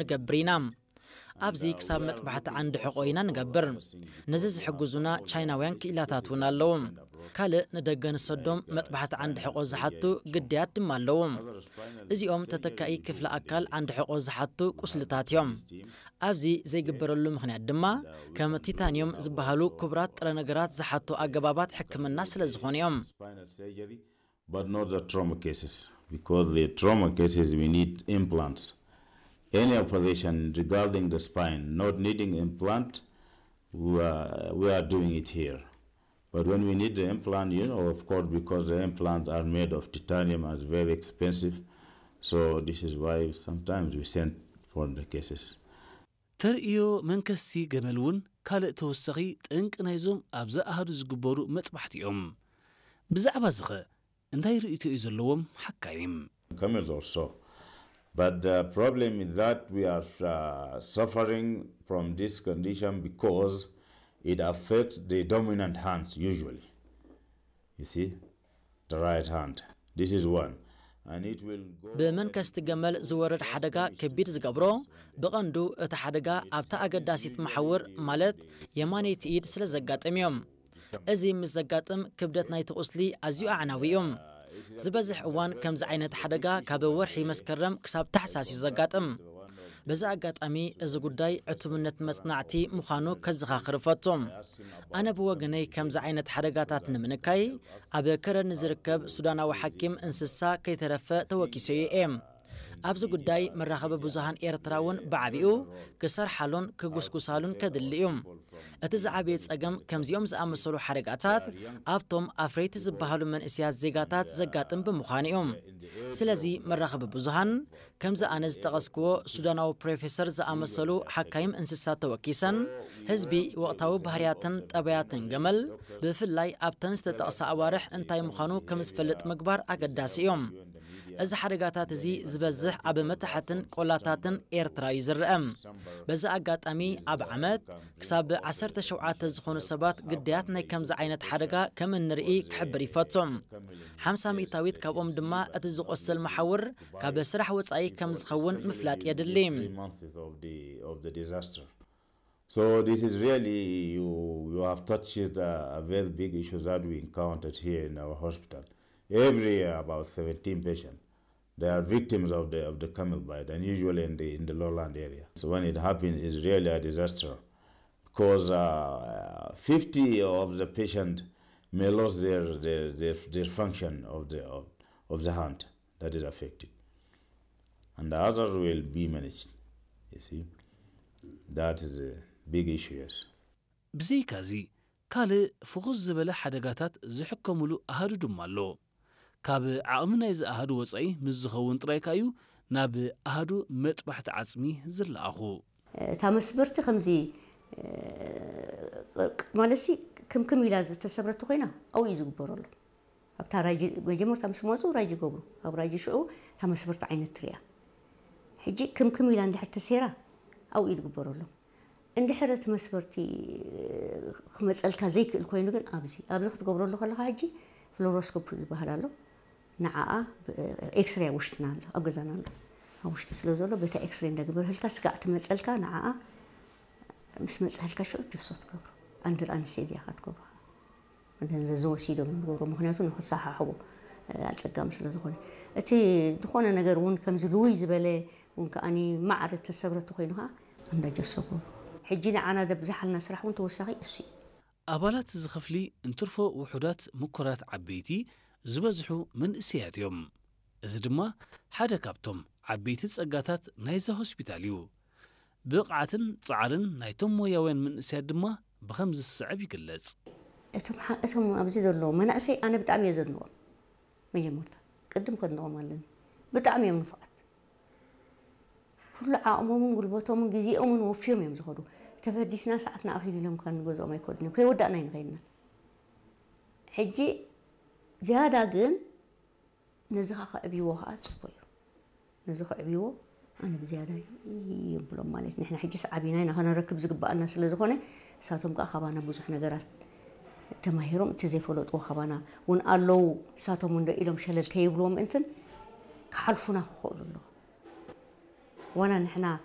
ንገብር ኢና። ኣብዚ ክሳብ መጥባሕቲ ዓንዲ ሕቖ ኢና ንገብር። ነዚ ዝሕግዙና ቻይናውያን ክኢላታት እውን ኣለዉ። ካልእ ንደገ ንሰዶም መጥባሕቲ ዓንዲ ሕቖ ዝሓቱ ግዳያት ድማ ኣለዉ። እዚኦም ተተካኢ ክፍለ ኣካል ዓንዲ ሕቖ ዝሓቱ ቁስልታት እዮም። ኣብዚ ዘይግበረሉ ምኽንያት ድማ ከም ቲታንዮም ዝበሃሉ ክቡራት ጥረ ነገራት ዝሓቱ ኣገባባት ሕክምና ስለ ዝኾኑ እዮም። But not the trauma cases, because the trauma cases we need implants. Any operation regarding the spine not needing implant, we are, we are doing it here. But when we need the implant, you know, of course, because the implants are made of titanium, are very expensive. So this is why sometimes we send for the cases. ተርእዮ መንከስቲ ገመል እውን ካልእ ተወሳኺ ጠንቂ ናይዞም ኣብዛ ኣሃዱ ዝግበሩ መጥባሕቲ እዮም። ብዛዕባ ዝኸ እንታይ ርእይቶ እዩ ዘለዎም ሓካይም? Camels also. But the problem is that we are uh, suffering from this condition because it affects the dominant hands usually. You see, the right hand. This is one. And it will go. ብመንከስቲ ገመል ዝወርድ ሓደጋ ከቢድ ዝገብሮ ብቐንዱ እቲ ሓደጋ ኣብታ ኣገዳሲት መሓውር ማለት የማነይቲ ኢድ ስለ ዘጋጥም እዮም። እዚ ምስ ዘጋጥም ክብደት ናይቲ ቁስሊ ኣዝዩ ኣዕናዊ እዩ። ዝበዝሕ እዋን ከምዚ ዓይነት ሓደጋ ካብ ወርሒ መስከረም ክሳብ ታሕሳስ እዩ ዘጋጥም። በዚ ኣጋጣሚ እዚ ጉዳይ ዕቱብነት መጽናዕቲ ምዃኑ ከዘኻኽር እፈቱ። ኣነ ብወገነይ ከምዚ ዓይነት ሓደጋታት ንምንካይ ኣብ ከረን ንዝርከብ ሱዳናዊ ሓኪም እንስሳ ከይተረፈ ተወኪሰዮ እየ። ኣብዚ ጉዳይ መራኸቢ ብዙሃን ኤርትራ እውን ብዓቢኡ ክሰርሓሉን ክጉስጉሳሉን ከድሊ እዩ። እቲ ዝዓበየ ጸገም ከምዚኦም ዝኣመሰሉ ሓደጋታት ኣብቶም ኣፍረይቲ ዝበሃሉ መንእሰያት ዜጋታት ዘጋጥም ብምዃኑ እዩ። ስለዚ መራኸቢ ብዙሃን ከምዚ ኣነ ዝጠቐስክዎ ሱዳናዊ ፕሮፌሰር ዝኣመሰሉ ሓካይም እንስሳት ተወኪሰን ህዝቢ ወቕታዊ ባህርያትን ጠባያትን ገመል ብፍላይ ኣብተን ዝተጠቕሳ ኣዋርሕ እንታይ ምዃኑ ከም ዝፈልጥ ምግባር ኣገዳሲ እዩ። እዚ ሓደጋታት እዚ ዝበዝሕ ኣብ መታሕትን ቆላታትን ኤርትራ እዩ ዝረአ። በዚ ኣጋጣሚ ኣብ ዓመት ክሳብ ዓሰርተ ሸውዓተ ዝኾኑ ሰባት ግዳያት ናይ ከምዚ ዓይነት ሓደጋ ከም እንርኢ ክሕብር ይፈቱ። ሓምሳ ሚእታዊት ካብኦም ድማ እቲ ዝቖስል መሓውር ካብ ስራሕ ወጻኢ ከም ዝኸውን ምፍላጥ የድሊ። Three months of the, of the disaster. So this is really, you, you have touched a, a very big issue that we encountered here in our hospital. Every year, about seventeen patients, they are victims of the, of the camel bite, and usually in the, in the lowland area. So when it happens, it's really a disaster because uh, fifty of the patients may lose their, their, their, their function of the, of, of the hand that is affected. And the others will be managed. You see, that is a big issue, yes. ብዘይካዚ ካልእ ፍኹስ ዝበለ ሓደጋታት ዝሕከሙሉ ኣሃዱ ድማ ኣሎ። ካብ ዓቕሚ ናይዚ ኣሃዱ ወጻኢ ምስ ዝኸውን ጥራይ ከኣ እዩ ናብ ኣሃዱ መጥባሕቲ ዓጽሚ ዝለኣኹ። እታ መስበርቲ ከምዚ ማለትሲ ክምክም ኢላ ዝተሰብረት ኮይና ኣብኡ እዩ ዝግበረሉ። ኣብታ ራጂ መጀመርታ ምስ መፁ ራጂ ይገብሩ። ኣብ ራጂ ሽዑ እታ መስበርቲ ዓይነት ትሪኣ። ሕጂ ክምክም ኢላ እንድሕር ተሰይራ ኣብኡ እዩ ዝግበረሎም። እንድሕር እቲ መስበርቲ ክመፀልካ ዘይክእል ኮይኑ ግን ኣብዚ ኣብዚ ክትገብረሉ ከለካ ሕጂ ፍሎሮስኮፕ ዝበሃል ኣሎ። ንዓኣ ኤክስሬ ኣብ ውሽጥና ኣሎ፣ ኣብ ገዛና ኣሎ። ኣብ ውሽጢ ስለ ዘሎ በታ ኤክስሬ እንዳግበርህልካ ስጋዕ ትመፀልካ። ንዓኣ ምስ መፀህልካ ሽዑ ጀሶ ትገብሮ። ኣንድር ኣንስቴዚያ ኢኻ ትገብሮ። መደንዘዚ ወሲዶም እዮም ዝገብሮ፣ ምክንያቱ ንክሰሓሕቦ ኣፀጋሚ ስለ ዝኾነ። እቲ ዝኾነ ነገር እውን ከምዚ ልውይ ዝበለ እውን ከዓኒ ማዕረ ተሰብረ ተኮይኑ ከዓ እንዳ ጀሶ ገብሮ። ሕጂ ንዓና ዘብዝሓልና ስራሕ እውን ተወሳኺ እሱ እዩ። ኣባላት እዚ ክፍሊ እንትርፎ ውሑዳት ምኩራት ዓበይቲ ዝበዝሑ መንእሰያት እዮም። እዚ ድማ ሓደ ካብቶም ዓበይቲ ጸጋታት ናይዚ ሆስፒታል እዩ። ብቕዓትን ጻዕርን ናይቶም ሞያውያን መንእሰያት ድማ ብኸምዚ ዝስዕብ ይግለጽ። እቶም እቶም ኣብዚ ዘለዉ መናእሰይ ኣነ ብጣዕሚ እየ ዘድንቖም። መጀመርታ ቅድም ከድንቖም ኣለኒ። ብጣዕሚ እዮም ንፉዓት። ኩሉ ዓቕሞምን ጉልበቶምን ግዜኦምን ወፍዮም እዮም ዝኸዱ። ተበዲስና ሰዓትና ኣኺሉ ኢሎም ካብ ንገዝኦም ኣይከዱን እዮም። ከይወዳእና እዩ ንኸይድና። ሕጂ ዝያዳ ግን ነዚ ኸዓ ከዕብይዎ ኸዓ ፅቡቅ እዩ። ነዚ ከዕብይዎ ኣነ ብዝያዳ የብሎም ማለት ንሕና ሕጂስ ዓቢና ኢና ከነረክብ ዝግባኣና ስለ ዝኾነ እሳቶም ከዓ ካባና ብዙሕ ነገራት ተማሂሮም እቲ ዘይፈለጥዎ ካባና እውን ኣለዉ እሳቶም እንዶ ኢሎም ሸለል ከይብልዎም ምእንትን ክሓልፉና ክኽእሉ ኣለዉ። ዋላ ንሕና